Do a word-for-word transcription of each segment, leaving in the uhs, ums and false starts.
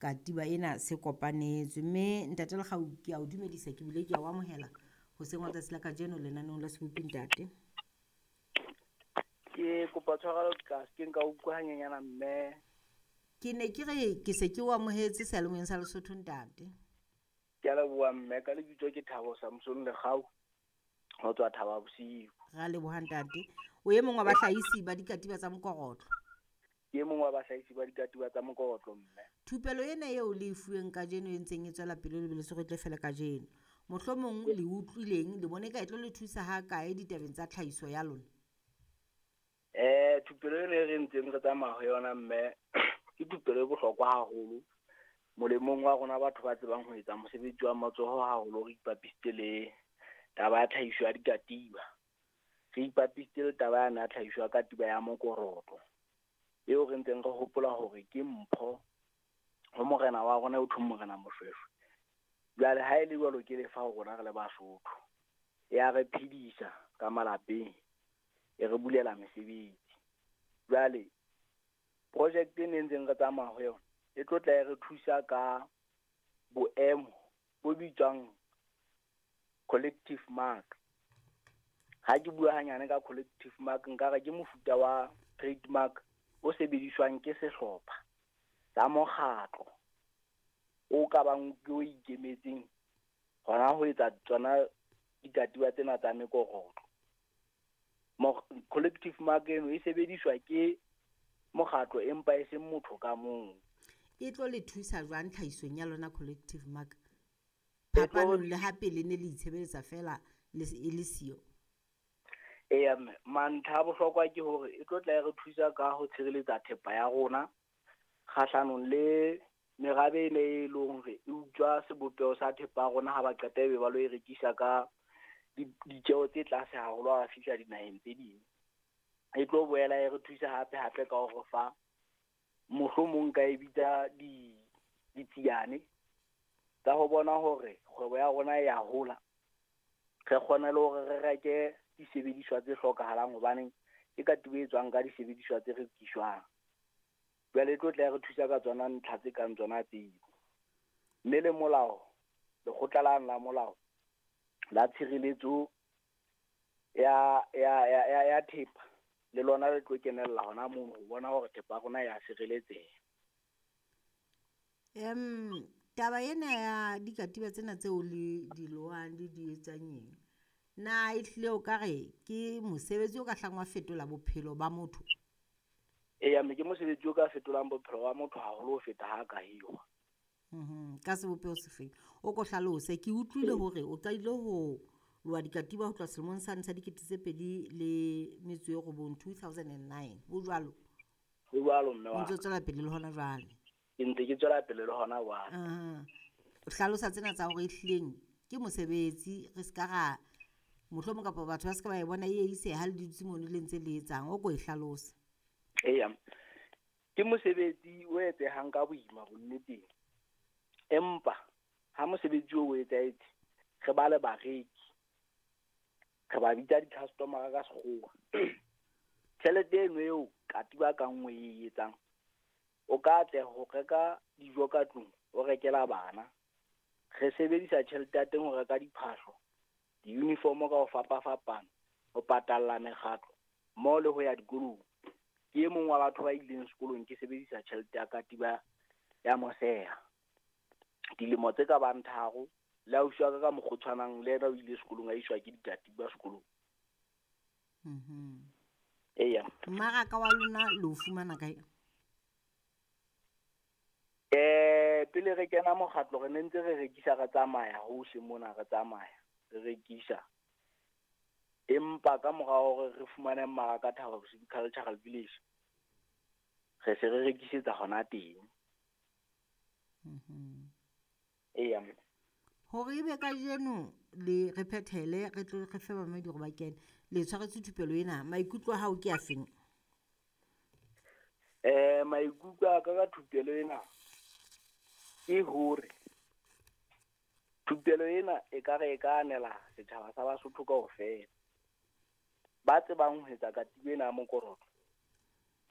katiba ena se kopanetswe. Mme Ntate Lekgau, ke a o dumedisa, ke bile ke a o amohela hoseng wa tsatsi la kajeno lenaneong la Sebopi ntate. Ke kopa tshwarelo ka ke nka utlwa hanyenyana mme. Ke ne ke re ke se ke o amohetse seyalemoyeng sa Lesotho ntate. Ke a leboha mme, ka lebitso ke Thabo Samson Lekgau ho tswa Thaba Bosiu. Ra leboha ntate. O e mong wa bahlahisi ba dikatiba tsa mokorotlo. Ke e mong wa bahlahisi ba dikatiba tsa mokorotlo mme. Thupelo ena eo le e fuweng kajeno e ntseng e tswela pele le bile se re tle fela kajeno. Mohlomong le utlwileng le bone ka e tlo le thusa ha kae ditabeng tsa tlhahiso ya lona? Eh thupelo ena e re ntseng re tsamaya ho yona mme ke thupelo e bohlokwa haholo molemong wa rona batho ba tsebang ho etsa mosebetsi wa matsoho haholo, re ipapisitse le taba ya tlhahiso ya dikatiba. Re ipapisitse le taba yane ya tlhahiso ya katiba ya mokorotlo eo re ntseng re hopola hore ke mpho ho morena wa rona eo thweng Morena Moshweshwe. Jwale ha e le jwalo ke lefa ho rona re le Basotho, ya re phedisa ka malapeng, e re bulela mesebetsi. Jwale project e ne ntseng re tsamaya ho yona e tlo tla e re thusa ka boemo bo bitswang collective mark. Ha ke bua hanyane ka collective mark, nka re ke mofuta wa trademark o sebediswang ke sehlopha sa mokgatlo o ka bang ke o ikemetseng hona ho etsa tsona dikatiba tsena tsa mekorotlo. Collective mark eno e sebediswa ke mokgatlo empa e seng motho ka mong. E tlo le thusa jwang tlhahisong ya lona collective mark? Phapanong le ha pele ne le itshebeletsa fela le e le siyo. Eya mme, mantlha a bohlokwa ke hore e tlo tla e re thusa ka ho tshireletsa thepa ya rona kgahlanong le merabe e ne e leng hore e utswa sebopeho sa thepa ya rona ha ba qeta ebe ba lo e rekisa ka ditjeho tse tlase haholo ha ba fihla dinaheng tse ding. E tlo boela e re thusa hape hape ka hore fa mohlomong ka e bitsa di ditsiane tsa ho bona hore kgwebo ya rona e ya hola. Re kgone le hore re reke disebediswa tse hlokahalang hobane ke katiba e tswang ka disebediswa tse rekiswang. Jwale e tlo tla re thusa ka tsona ntlha tse kang tsona tseo. Mme le molao, lekgotla lane la molao la tshireletso ya ya ya ya, ya thepa le lona le tlo kenella hona mono ho bona hore thepa ya rona ya sireletseha. Em taba ena ya dikatiba tsena tseo le di lohang le di etsang eng, na ehlile o ka re ke mosebetsi o ka hlang wa fetola bophelo ba motho? Eya mme, ke mosebetsi o ka fetolang bophelo ba motho haholo ho feta ha ka hirwa. Mhm, ka sebopeho sefeng? O ko hlalose, ke utlwile hore o qadile ho loha dikatiba ho tloha selemong sane sa dikete tse pedi le metso e robong, two thousand and nine. Ho jwalo? Ho jwalo mme wa O ntso tswela pele le hona jwale? Ke ntse ke tswela pele le hona jwale. Aha. O hlalosa tsena tsa hore ehlileng ke mosebetsi, re ska ra mohlomong kapa batho ba ska ba e bona e ise ha le dutse mono le ntse le etsang, o ko e hlalose. Eya, ke mosebetsi o etsehang ka boima bonneteng. Empa ha mosebetsi o o etsahetse, re ba le bareki, re ba bitsa di-customer ka sekgowa. Tjhelete eno eo katiba ka nngwe e etsang, o ka atleha ho reka dijo ka tlung, o rekela bana. Re sebedisa tjhelete ya teng ho reka diphahlo, di-uniform ka ho fapafapana, ho patalla mekgatlo mmoho le ho ya dikolong. Ke e mong wa batho ba ileng sekolong ke sebedisa tjhelete ya katiba ya moseha. Dilemo tse ka bang tharo, le ausi wa ka ka mokgwa o tshwanang le yena o ile sekolong a iswa ke dikatiba sekolong. Mhm. Eya. Mmaraka wa lona le o fumana kae? Eh, pele re kena mokgatlo re ne ntse re rekisa re tsamaya hohle mona re tsamaya re rekisa. Empa ka mora hore re fumane mmaraka Thaba Bosiu Cultural Village, re se re rekisetsa hona teng. Mhm. Eya. Hore ebe kajeno le re phethele re tlo re fe bamamedi hore ba kene, le tshwaretswe thupelo ena, maikutlo a hao ke a feng? Eh, maikutlo a ka ka thupelo ena ke hore thupelo ena e ka re e ka anela setjhaba sa Basotho kaofela. Ba tsebang ho etsa katiba ena ya mokorotlo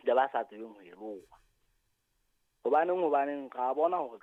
le ba sa tsebeng ho e loha. Hobaneng hobaneng ra bona hore